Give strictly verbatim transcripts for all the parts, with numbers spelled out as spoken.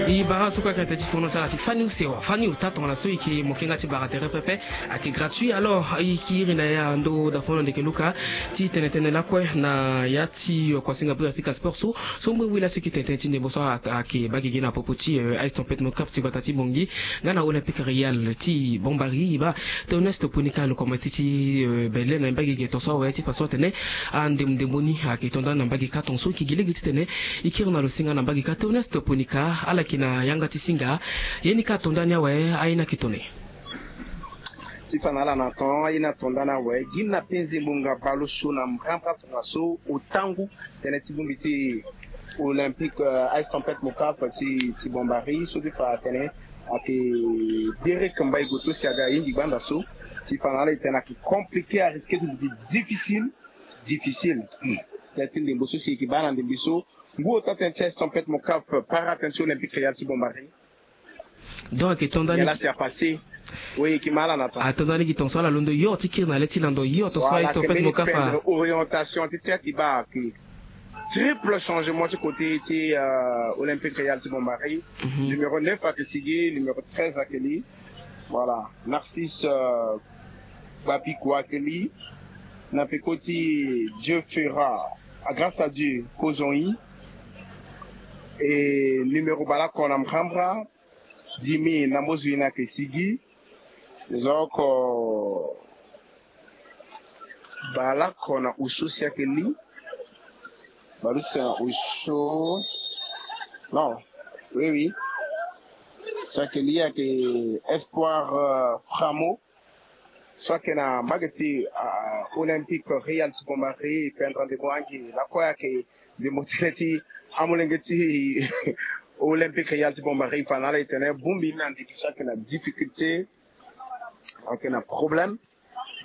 E bara so kue ayeke tene ti fono ti ala ti fani use wa fani ota tongana so e yeke moke nga ti bara tere pepe. Ayeke gratuit alors e yeke iri na ya ndo dafono ndeke luka ti tene tënë lakue na ya ti kuasinga bri afrika sport so so ngbe wi laso e yeke tene tënë ti ndembo so ayeke baa gigi na popo ti ice tempête mocaf ti gbata ti bongi nga na olympique réal ti bombari e baa toneste ponika lo komanse ti belle na mbage ge tonso awe ti fa so atene andembo ndembo ni ayeke to ndani na mbage ka tonso e yeke gi lege titene e kiri na lo si nga na mbage ka toneste ponika ala yeke na yanga ti singa. Ye ni ka to ndani awe aye ni ayeke tone. Ti fa na ala na ton aye ni ato ndani awe gi na penze ngbonga baleosio na mbrambra tongaso otangu tënë ti bongbi ti olympique ice tempête mocaf ti ti bombari so ti fa atene ayeke derek mbai goto si aga ahingi gbanda so ti fa na ala e tene ayeke compliqué arisque ti duti difficile. Difficile tënë ti ndembo so si e yeke baa na ndembe so ngu ota tënë ti ice tempête mocaf para tënë ti olympique réal ti bombari. Donc ayeke to ndani nyen la si apassé? Oui e yeke ma ala na ton ato ndani gi tonso ala londo yo ti kiri na le ti lando yo tonso ice tempête mocaf a orientation ti tënë ti baa ayeke triple changement ti côté ti olympique réal ti bombari. Numéro neuf ayeke sigi numéro treize ayeke li. Voilà. Narcisse gbapiko ayeke li na peko ti dieu fera. Grâce à dieu kozon i e numéro baleoko na mbrambra. Dimi na mbozo i na yeke sigi. Nzoko baleoko na oso si ayeke li. Baleuse na oso. Non. Oui oui. Si ayeke li ayeke espoir framo so ayeke na mbage ti olympique réal ti bombari pendra ndembo angi lakue ayeke ndembo tënë ti amolenge ti olympique réal ti bombari fa na ala e tene bongbi ni na ndiki so ayeke na difficulté. Ayeke na problème.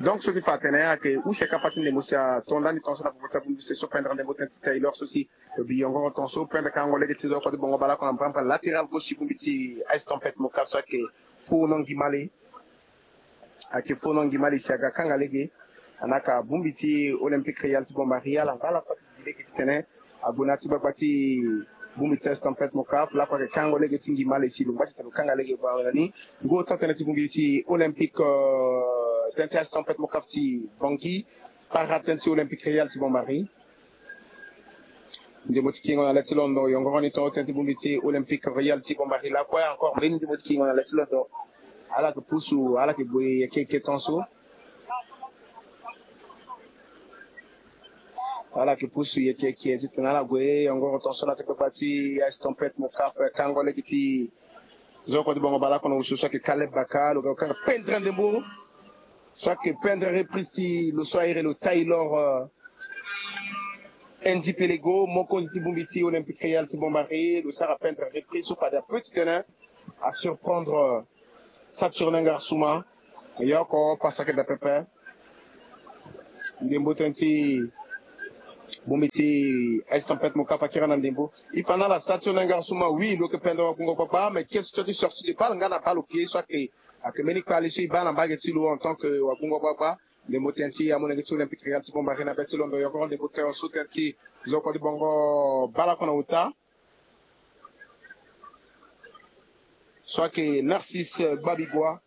Donc so ti fa atene ayeke use kapa ti ndembo si ato ndani tongaso na popo ti abongbi se so pendra ndembo tënë ti tailor so si biyongoro tongaso pendra kango lege ti zo oko ti bongo baleoko na mbrambra latéral gauche ti bongbi ti ice tempête mocaf so ayeke fo no ngimale. Ayeke fo no ngimale si aga kanga lege. Anaka bongbi ti olympique réal ti bombari ala nga ala kue ti gi lege titene ague na ya ti gbagba ti bongbi ti ice tempête mocaf lakue ayeke kango lege ti ngimale si lo ngba titene lo kanga lege baa na ni. Ngu ota tënë ti bongbi ti olympique tënë ti ice tempête mocaf ti bangi para tënë ti olympique réal ti bombari. Ndembo ti kingo na le ti londo yongoro ni tongo tënë ti bongbi ti olympique réal ti bombari lakue encore mbeni ndembo ti kingo na le ti londo. Ala yeke pusu ala yeke gue yeke yeke tongaso. Ala yeke pusu yeke yeke titene ala gue yongoro tongaso na ti kpakpa ti ice tempête mocaf kango lege ti zo oko ti bongo baleoko na oso so ayeke kaleb baka lo ga kanga pendre ndembo so ayeke pendre reprise ti lo so airi lo tailor. N D P lego mokonzi ti bongbi ti olympique réal ti bombari lo sara pendre reprise so fade ape titene asurprendre saturne ngarsuma. Yo oko pasa ayeke daa pepe. Ndembo tënë ti bongbi ti ice tempête mocaf akiri na ndembo. E fa na ala saturne ngarsuma oui lo yeke pendre wagungo gbagba mais question ti sortie de balle nga na balle oke so ayeke ayeke mbeni kpale so e baa na mbage ti lo en tant que wagungo gbagba. Ndembo tënë ti amolenge ti olympique réal ti bombari na be ti londo yongoro ndembo tongaso tënë ti zo oko ti bongo baleoko na ota. So ayeke narcisse gbabigua.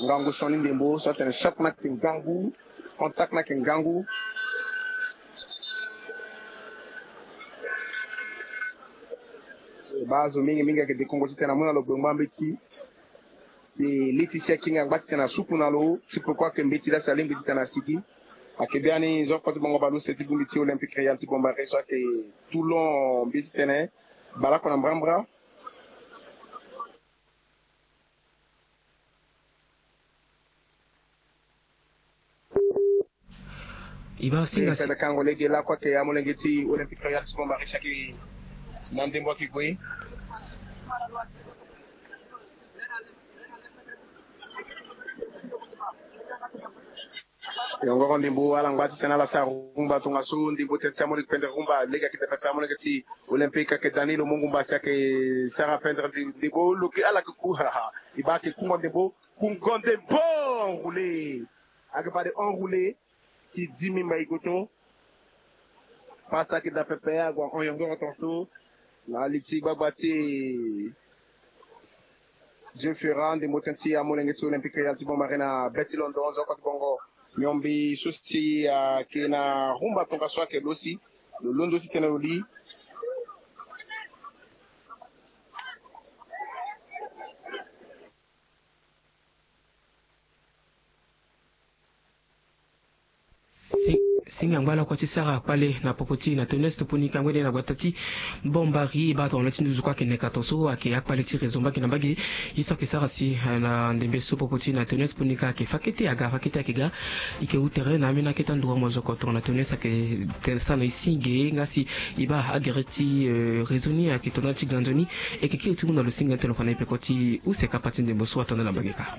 Ngangu sioni ndembo so atene choc ni ayeke ngangu. Contact ni ayeke ngangu. Baa azo mingi mingi ayeke dekongo titene amu na lo gbengba mbeti. Si li ti si akinga angba titene asuku na lo ti peko ayeke mbeti laa si alingbi titene asigi. Ayeke biani zo oko ti bongo baleuse ti bongbi ti olympique réal ti bombari so ayeke toulon mbi titene baleoko na mbrambra. E baa singa si. Kango lege lakue ayeke amolenge ti olympique royal ti bombari si ayeke na ndembo ayeke gue. Yongoro ndembo ala ngba titene ala sara rumba tongaso ndembo tene ti amolenge pendre rumba lege ayeke daa pepe amolenge ti olympique ayeke dani lo mu ngumba si ayeke sara pendre ndembo lo yeke ala yeke ku haha. E baa ayeke kungo ndembo. Kungo ndembo enroulé. Ayeke fade enroulé ti dix mille mbai goto. Pasa ayeke daa pepe ague ahon yongoro tongaso. Na li ti gbagba ti Dieu Ferra, ndembo tënë ti amolenge ti Olympique ya ti Bambari na be ti London, nzoko ti bongo miombe so si ayeke na rumba tongaso ayeke lo si lo londo ti tene lo li. Singa ngba lakua ti sara kpale na popo ti na Tonnes Toponika ngbene na gbata ti Bambari, e baa tongana ti nduzu kue ayeke neka tongaso ayeke akpale ti réseau mbage na mbage. Ye so ayeke sara si na ndembe so popo ti na Tonnes Toponika ayeke fa kete aga, fa kete ayeke ga. E ke wu tere na ambeni akete anduru mozoko tongana Tonnes ayeke sara na e singe nga si e baa agere ti réseau ni ayeke tongana ti ga nzoni. E ke kiri ti mu na lo singa ni tene lo fa na e peko ti use kapa ti ndembo so atonda na mbage kâ.